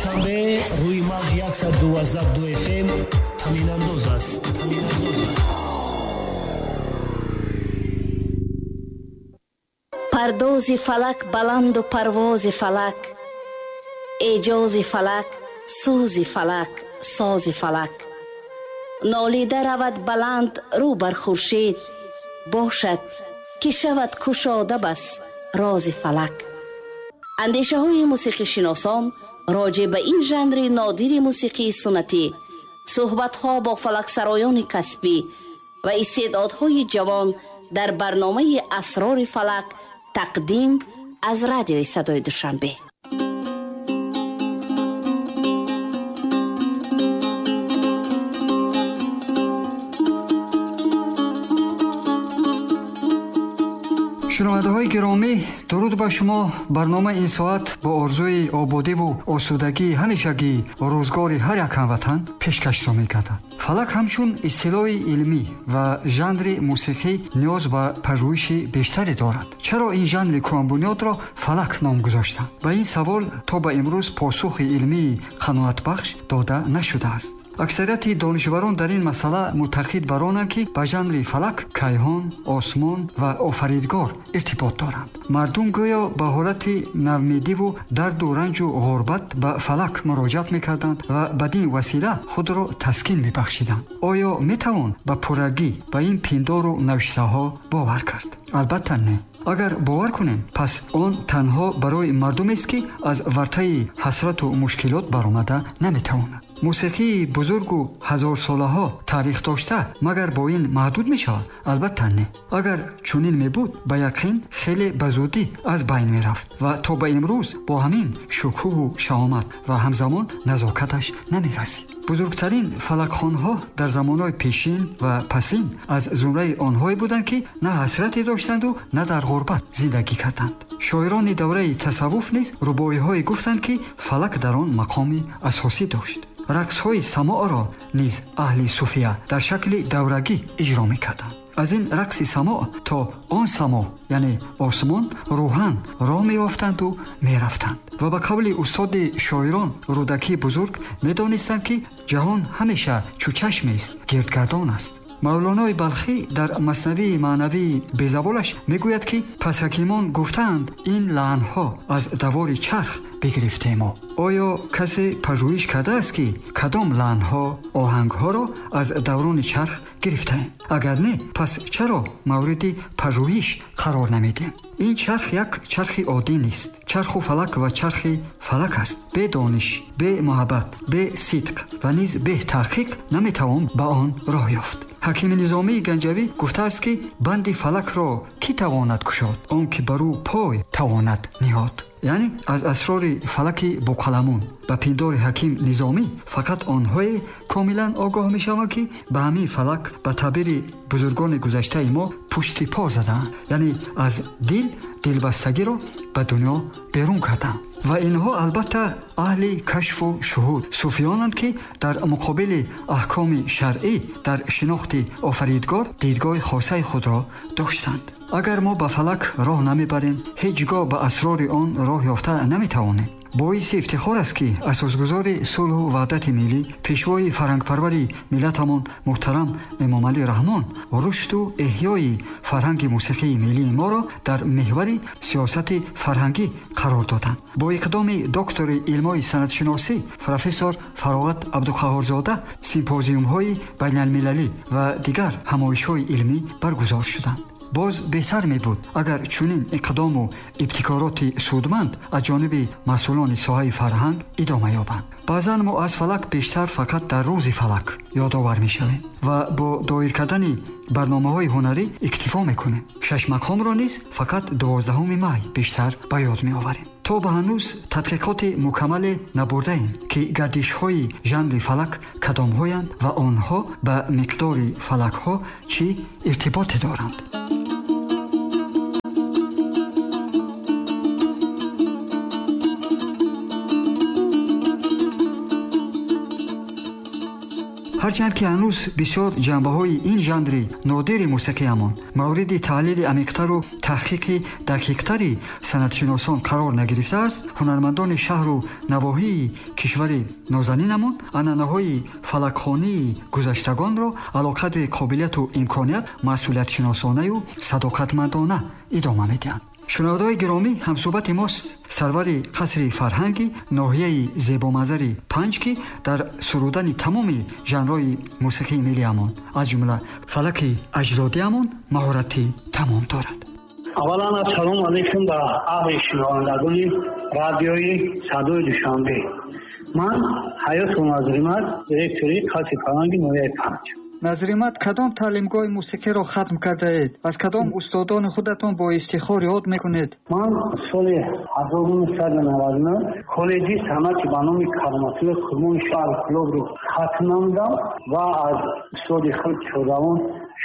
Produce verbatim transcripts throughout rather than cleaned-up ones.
Душанбе рӯи мавҷ яксаду дувоздаҳ ду эф эм танинандоз аст. Танинандоз аст. Пардози фалак баланду парвози фалак, эҷози фалак, сӯзи фалак, сози фалак. Нолида равад баланд рӯ бар хуршед, бошад ки шавад кушода бас рози фалак. Андешаҳои мусиқишиносон роҷеъ ба ин жанри нодири мусиқии суннатӣ, суҳбатҳо бо фалаксароёни касбӣ ва истеъдодҳои ҷавон дар барномаи Асрори фалак тақдим аз радиои садои Душанбе. Шунавандаҳои гиромӣ, дуруд ба шумо. Барномаи ин соат бо орзуи ободиву осудагии ҳамешагӣ рӯзгори ҳар як ҳамватан пешкашро мекардад. Фалак ҳамчун истилоҳи илмӣ ва жанри мусиқӣ ниёз ба пажӯҳиши бештаре дорад. Чаро ин жанри кӯҳанбунёдро фалак ном гузоштанд? Ба ин савол то ба имрӯз посухи илмии қаноатбахш дода нашудааст. Аксарияти донишварон дар ин масъала муттаҳид бар онанд, ки ба жанри фалак кайҳон, осмон ва офаридгор иртибот доранд. Мардум гӯё ба ҳолати навмедиву дарду ранҷу ғурбат ба фалак муроҷиат мекарданд ва бадин васила худро таскин мебахшиданд. Оё метавон ба пуррагӣ ба ин пиндору навиштаҳо бовар кард? Албатта не. Агар бовар кунем, пас он танҳо барои мардумест, ки аз вартаи ҳасрату мушкилот баромада наметавонад. Мусиқии бузургу ҳазорсолаҳо таърих дошта магар бо ин маҳдуд мешавад? Албатта не. Агар чунин мебуд, ба яқин хеле ба зудӣ аз байн мерафт ва то ба имрӯз бо ҳамин шукӯҳу шаҳомат ва ҳамзамон назокаташ намерасид. Бузургтарин фалакхонҳо дар замонҳои пешин ва пасин аз зумраи онҳое буданд, ки на ҳасрате доштанду на дар ғурбат зиндагӣ карданд. Шоирони давраи тасаввуф низ рубоиҳое гуфтанд, ки фалак дар он мақоми асосӣ дошт. Рақсҳои самоъро низ аҳли суфия дар шакли даврагӣ иҷро мекарданд. Аз ин рақси самоъ то он самоъ, яъне осмон, рӯҳан роҳ меёфтанду мерафтанд. Ва ба қавли устоди шоирон Рӯдакии бузург медонистанд, ки ҷаҳон ҳамеша чӯчашмест, гирдгардон аст. Мавлонои Балхӣ дар маснавии маънавии безаволаш мегӯяд, ки пас ҳакимон гуфтаанд, ин лаънҳо аз давори чарх бигирифтемо. Оё касе пажӯҳиш кардааст, ки кадом лаънҳо оҳангҳоро аз даврони чарх гирифтаем? Агар не, пас чаро мавриди пажӯҳиш қарор намедиҳем? Ин чарх як чархи оддӣ нест. Чарху фалак ва чархи фалак аст. Бе дониш, бе муҳаббат, бе сидқ ва низ бе таҳқиқ наметавон ба он роҳ ёфт. Ҳакими Низомии Ганҷавӣ гуфтааст, ки банди фалакро кӣ тавонад кушод? Он ки бар ӯ пой тавонад ниҳод. Яъне аз асрори фалаки боқаламун ба пиндори ҳаким Низомӣ фақат онҳое комилан огоҳ мешаванд, ки ба ҳамин фалак ба таъбири бузургони гузаштаи мо пушти по задаанд, яъне аз дил дилбастагиро ба дунё берун карданд. Ва инҳо албатта аҳли кашфу шуҳуд суфиёнанд, ки дар муқобили аҳкоми шаръӣ дар шинохти офаридгор дидгоҳи хосаи худро доштанд. Агар мо ба фалак роҳ намебарем, ҳеҷ гоҳ ба асрори он роҳ ёфта наметавонем. Боиси ифтихор аст, ки асосгузори сулҳу ваҳдати миллӣ, пешвои фарҳангпарвари миллатамон муҳтарам Эмомалӣ Раҳмон рушду эҳёи фарҳанги мусиқии миллии моро дар меҳвари сиёсати фарҳангӣ қарор доданд. Бо иқдоми доктори илмҳои санъатшиносӣ профессор Фароғат Абдуқаҳҳорзода симпозиумҳои байналмилалӣ ва дигар ҳамоишҳои илмӣ баргузор шуданд. Боз беҳтар мебуд, агар чунин иқдому ибтикороти судманд аз ҷониби масъулони соҳаи фарҳанг идома ёбанд. Баъзан мо аз фалак бештар фақат дар рӯзи фалак ёдовар мешавем ва бо доир кардани барномаҳои ҳунарӣ иктифо мекунем. Шашмақомро низ фақат дувоздаҳуми май бештар ба ёд меоварем. То ба ҳанӯз тадқиқоти мукаммале набурдаем, ки гардишҳои жанри фалак кадомҳоянд ва онҳо ба миқдори фалакҳо чӣ иртиботе доранд. Ҳарчанд ки ҳанӯз бисёр ҷанбаҳои ин жанри нодири мусиқиамон мавриди таҳлили амиқтару таҳқиқи дақиқтари санъатшиносон қарор нагирифтааст, ҳунармандони шаҳру навоҳии кишвари нозанинамон анъанаҳои фалакхонии гузаштагонро алоқадри қобилияту имконият масъулиятшиносонаю садоқатмандона идома медиҳанд. Шунавандаҳои гиромӣ, ҳамсӯҳбати мост сарвари қасри фарҳанги ноҳияи зебоманзари Панҷ, ки дар сурудани тамоми жанрҳои мусиқии миллиамон, аз ҷумла фалаки аҷдодиамон, маҳорати тамом дорад. Аввалан, ассалому алайкум ба аҳли шунавандагони радиои Садои Душанбе. Ман Ҳаётов Назримат, директори қасри фарҳанги ноҳияи Панҷ. Назримат, кадом таълимгоҳи мусиқиро хатм кардаед? Аз кадом устодони худатон бо ифтихор ёд мекунед? Ман соли ҳазору нӯҳсаду наваду нӯҳ коллеҷи санъати ба номи Кароматулло Қурбони шаҳри Кӯлобро хатм намудам ва аз устоди худ шодравон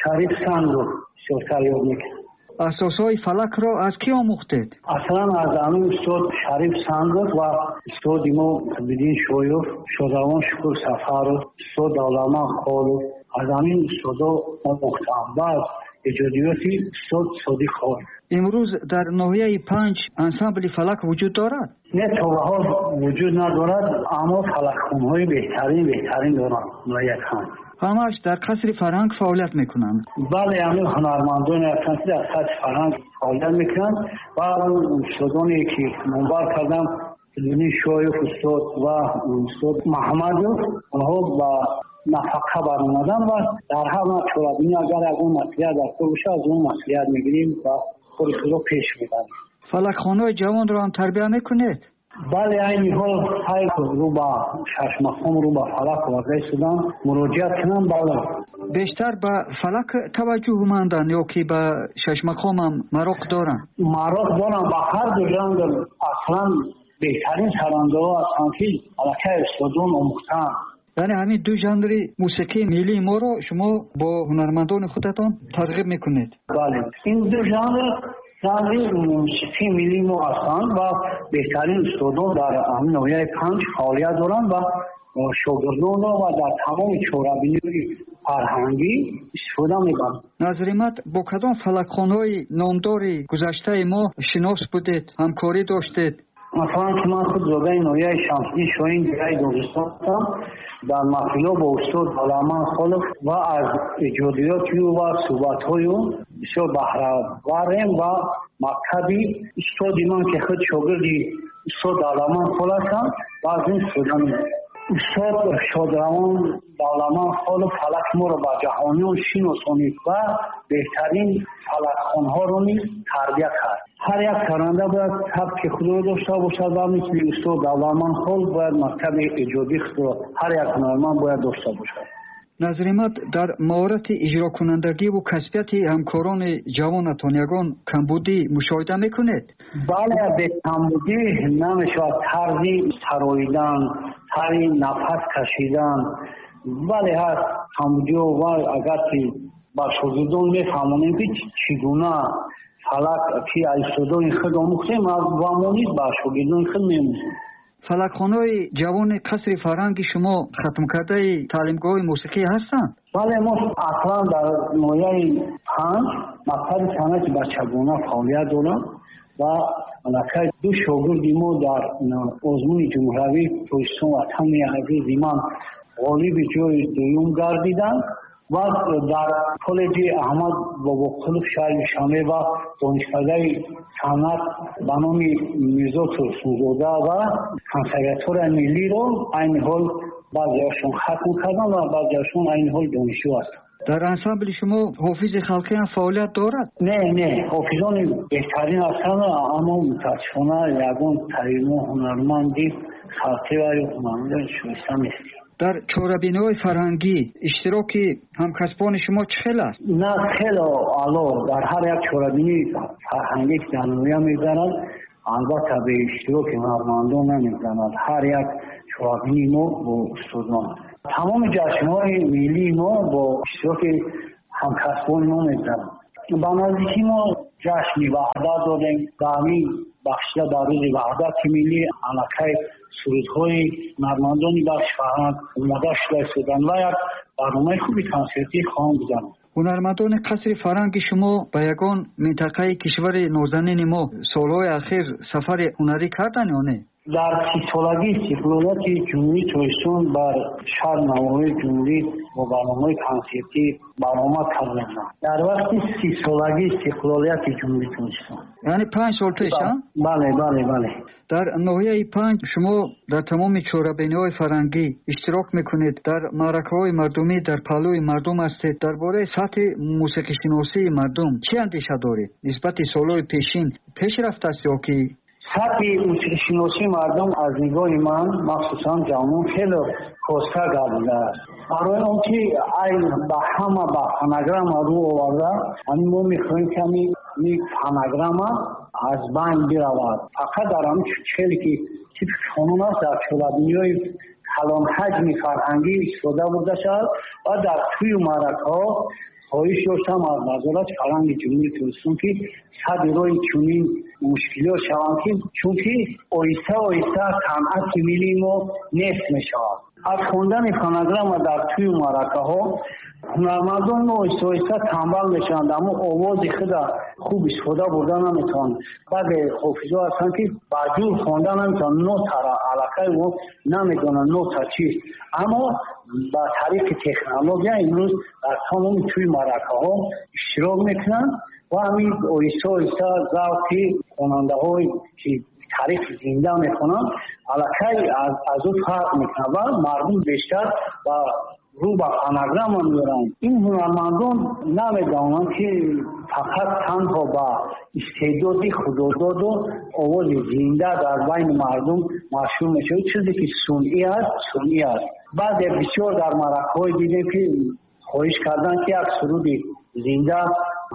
Шариф Сангов бисёртар ёд мекунам. Асосҳои фалакро аз кӣ омӯхтед? Аслан аз ҳамин устод Шариф Сангов ва устоди мо Қутбиддин Шоёв, шодравон Шукур Сафаров, устод Давлатман Холов, аз ҳамин устодо омӯхтам ва аз эҷодиёти устод Содиқ Холов. Имрӯз дар ноҳияи Панҷ ансамбли фалак вуҷуд дорад? Не, то ба ҳол вуҷуд надорад, аммо фалакхонҳои беҳтарин беҳтарин доранд ноҳияи Панҷ. Ҳамааш дар қасри фарҳанг фаъолият мекунанд? Бале, ҳамин ҳунармандоне ҳастанд, ки дар қасри фарҳанг фаъолият мекунанд ва устодоне ки номбар кардам, Қутбиддин Шоев устод ва устод Маҳмадов, онҳо ба нафақа баромадан ва дар ҳар навъ чорабинӣ агар ягон маслиҳат дар кор бошад, аз он маслиҳат мегирем ва кори худро пеш мебарем. Фалакхонаҳои ҷавонро ҳам тарбия мекунед? Бале, айни ҳол ҳай рӯ ба шашмақом, рӯ ба фалак оварда истодам, муроҷиат кунам. Бале, бештар ба фалак таваҷҷӯҳманданд ё ки ба шашмақомам мароқ доранд? Мароқ дорам ба ҳар ду жанр. Аслан беҳтарин сарандаҳо ҳастанд, ки аллакай устодон омӯхтаанд. Яъне ҳамин ду жанри мусиқии миллии моро шумо бо ҳунармандони худатон тарғиб мекунед? Бале, ин ду жанр жанри мусиқии миллии мо ҳастанд ва беҳтарин устодон дар ҳамин ноҳияи Панҷ фаъолият доранд ва шогирдонро ва дар тамоми чорабиниҳои фарҳангӣ истифода мебаранд. Назримат, бо кадом фалакхонҳои номдори гузаштаи мо шинос будед, ҳамкорӣ доштед? Масалан, ки ман худ зодаи ноҳияи Шамсиддин Шоҳин, деҳаи Доғистон ҳастам, дар маҳфилҳо бо устод Давлатман Холов ва аз эҷодиёти ӯ ва суҳбатҳои ӯ бисёр баҳраварем ва мактаби устоди ман, ки худ шогирди устод Давлатман Хол ҳастам, ва аз ин истифода мебарам. Устод шодравон Давлатман Холов фалаки моро ба ҷаҳониён шиносонид ва беҳтарин фалакхонҳоро низ тарбия кард. Ҳар як саранда бояд сабки худро дошта бошад ва мисли устод Давлатман Хол бояд мактаби эҷодии худро ҳар як ҳунарманд бояд дошта бошад. Назримат, дар маҳорати иҷрокунандагиву касбияти ҳамкорони ҷавонатон ягон камбудӣ мушоҳида мекунед? Бале, бе камбудӣ намешавад. Тарзи сароидан, тарзи нафас кашидан, бале, ҳаст камбудиҳо ва агар ки ба шогирдон мефаҳмонем, ки чӣ гуна фалак ки аз устодони худ омӯхтем ва мо низ ба шогирдони худ меомӯзем. Фалакхонаҳои ҷавони қасри фарҳанги шумо хатмкардаи таълимгоҳи мусиқӣ ҳастанд? Бале, мо аслан дар ноҳияи Панҷ мактаби санъати бачагона фаъолият дорам ва аллакай ду шогирди мо дар озмуни ҷумҳуриявии Тоҷикистон Ватани азизи ман ғолиби ҷои дуюм гардиданд ва дар коллеҷи Аҳмад Бобоқулов шаҳри Душанбе ва донишкадаи санъат ба номи Мирзо Турсунзода ва консерваторияи миллиро айни ҳол баъзеашон хатм карданд ва баъзеашон айни ҳол донишҷӯ ҳастанд. Дар ансамбли шумо ҳофизи халқӣ ҳам фаъолият дорад? Не, не, ҳофизони беҳтарин ҳастанд, аммо мутаассифона ягон таримо ҳунарманди халқӣ ва ҳунарманди шоиста нест. Дар чорабиниҳои фарҳангӣ иштироки ҳамкасбони шумо чӣ хел аст? На, хеле аъло. Дар ҳар як чорабинии фарҳангӣ ки дар ноҳия мегузарад, албатта бе иштироки ҳунармандон намегузарад. Ҳар як чорабинии мо бо устодон, тамоми ҷашнҳои миллии мо бо иштироки ҳамкасбони мо мегузарад. Ба наздикӣ мо ҷашни Ваҳдат додем. Ба ҳамин бахшида ба рӯзи Ваҳдати миллӣ аллакай сурудҳои ҳунармандони бахши фарҳанг омода шуда истоданд ва як барномаи хуби консертӣ хоҳанд гузаронд. Ҳунармандони қасри фарҳанги шумо ба ягон минтақаи кишвари нозанини мо солҳои ахир сафари ҳунарӣ карданд ё не? Дар сисолагии истиқлолияти Ҷумҳурии Тоҷикистон бар шаҳр навоҳии ҷумҳурӣ бо барномаҳои консертӣ баромад карданд. Дар вақти сисолагии истиқлолияти Ҷумҳурии Тоҷикистон. Яъне панҷ сол пеш, а? Бале, бале, бале. Дар ноҳияи Панҷ шумо дар тамоми чорабиниҳои фарҳангӣ иштирок мекунед, дар маъракаҳои мардумӣ дар паҳлӯи мардум ҳастед. Дар бораи сатҳи мусиқишиносии мардум чӣ андеша доред? Нисбати солҳои пешин пеш рафтааст ё ки? Сатҳи мусиқишиносии мардум аз нигоҳи ман, махсусан ҷавонон, хеле коста гардидааст. Барои он ки айн ба ҳама ба фонограмма рӯ оварда, ҳамин мо мехоҳем ки ҳамин фонограмма аз байн биравад. Фақат дар ҳамин хеле ки типи қонун аст, дар чорабиниҳои калонҳаҷми фарҳангӣ истифода бурда шавад ва дар тӯю маъракаҳо хоҳиш доштам аз Вазорати фарҳанги Ҷумҳурии Тоҷикистон ки сади роҳи чунин мушкилиҳо шаванд, ки чунки оҳиста оҳиста санъати миллии мо нест мешавад. Аз хондани фонограмма дар тӯю маъракаҳо ҳунармандон оҳиста оҳиста танбал мешаванд, аммо овози худа хуб истифода бурда наметавонанд. Баъзе ҳофизҳо ҳастанд ки ба ҷур хонда наметавонанд, нотара аллакай мо намедонанд нота чист, аммо ба тариқи технология имрӯз дар тамоми тӯи маъракаҳо иштирок мекунанд ва ҳамин оҳиста оҳиста завқи хонандаҳое ки тариқи зинда мехонанд аллакай аз ӯ фарқ мекунад ва мардум бештар ба рӯ ба фонограмма меоранд. Ин ҳунармандон намедонанд ки фақат танҳо ба истеъдоди худододу овози зинда дар байни мардум машҳур мешавад. Чизе ки сунъӣ аст, сунъӣ аст. Баъзе бисёр дар маъракаҳое дидем ки хоҳиш карданд ки як суруди зинда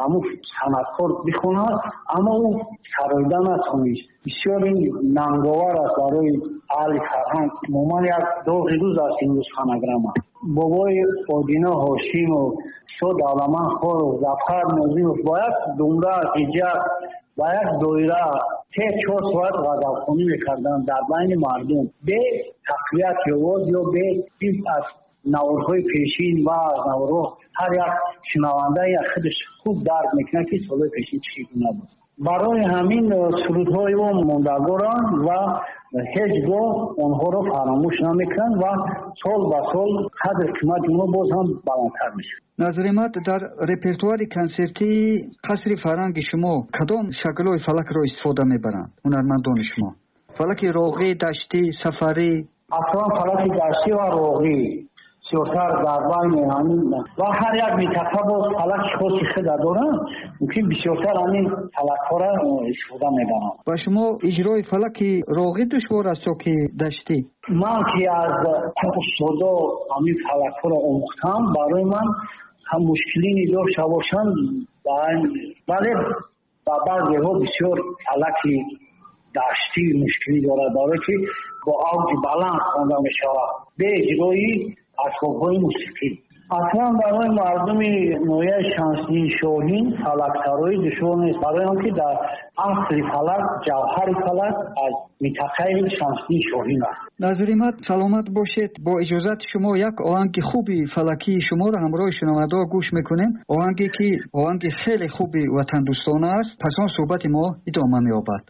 ҳамун санъаткор бихонад, аммо ӯ сароида натавонист. Бисёр ин нанговар аст барои аҳли фарҳанг. Умуман як доғи рӯз аст имрӯз фонограмма. Бобои Одино Ҳошимов, Устод Давламан Холов, Зафар Нозимов бо як думра, ҳиҷак, ба як доира се чор соат ғазалхонӣ мекарданд дар байни мардум бе тақвияти овоз ё бе чиз. Аз наворҳои пешин ва аз наворҳо ҳар як шунаванда як худаш хуб дарк мекунад ки солҳои пешин чӣ гуна буд. Барои ҳамин сурудҳои мо мондагоранд ва ҳеҷ гоҳ онҳоро фаромӯш намекунанд ва сол ба сол қадр қимати онҳо боз ҳам баландтар мешавад. Назримат, дар репертуари консертии қасри фарҳанги шумо кадом шаклҳои фалакро истифода мебаранд ҳунармандони шумо? Фалаки роғӣ, даштӣ, сафарӣ? Аслан фалаки даштӣ ва роғӣ бисёртар дар байни ҳамин ва ҳар як минтақа боз фалаки хоси худа доранд, мумкин бисёртар ҳамин фалакҳоро истифода мебаранд. Ба шумо иҷрои фалаки роғӣ душвор аст ё ки даштӣ? Ман ки аз устодо ҳамин фалакҳоро омӯхтам, барои ман ҳам мушкилӣ дошта бошанд, вале ба баъзеҳо бисёр фалаки даштӣ мушкилӣ дорад, барое ки бо авҷи баланд хонда мешавад бе иҷрои асбобҳои мусиқӣ. Аслан барои мардуми ноҳияи Шамсиддин Шоҳин фалаксароӣ душвор нест, барои он ки дар асли фалак, ҷавҳари фалак аз минтақаи Шамсиддин Шоҳин аст. Назримат, саломат бошед. Бо иҷозати шумо як оҳанги хуби фалакии шуморо ҳамроҳи шунавандаҳо гӯш мекунем. Оҳанге ки оҳанги хеле хуби ватандӯстона аст. Пас он суҳбати мо идома меёбад.